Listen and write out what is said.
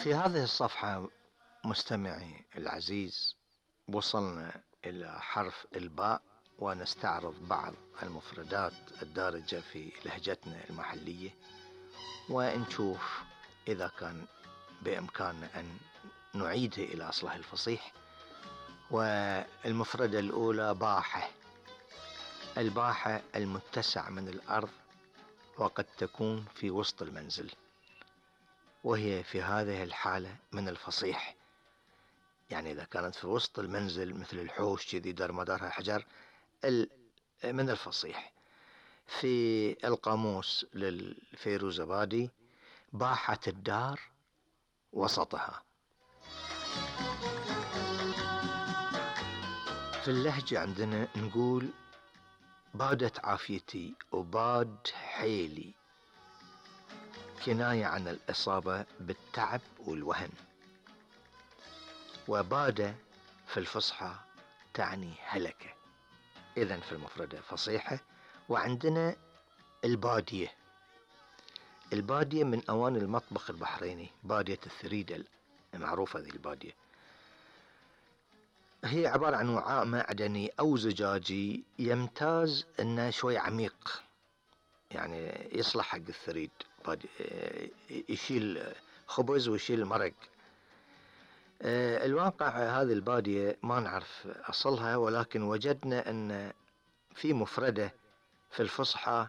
في هذه الصفحة مستمعي العزيز وصلنا إلى حرف الباء، ونستعرض بعض المفردات الدارجة في لهجتنا المحلية، ونشوف إذا كان بإمكاننا أن نعيدها إلى أصلها الفصيح. والمفردة الأولى باحة. الباحة المتسع من الأرض، وقد تكون في وسط المنزل، وهي في هذه الحالة من الفصيح. يعني إذا كانت في وسط المنزل مثل الحوش كذي دار مدارها حجر من الفصيح. في القاموس للفيروزبادي: باحة الدار وسطها. في اللهجة عندنا نقول بادت عافيتي وباد حيلي، كناية عن الإصابة بالتعب والوهن. وباد في الفصحى تعني هلكة. إذن في المفردة فصيحة. وعندنا البادية. البادية من أواني المطبخ البحريني، بادية الثريد المعروفة ذي البادية. هي عبارة عن وعاء معدني أو زجاجي يمتاز أنه شوي عميق، يعني يصلح حق الثريد، يشيل خبز ويشيل مرق. الواقع هذه البادية ما نعرف أصلها، ولكن وجدنا أن في مفردة في الفصحى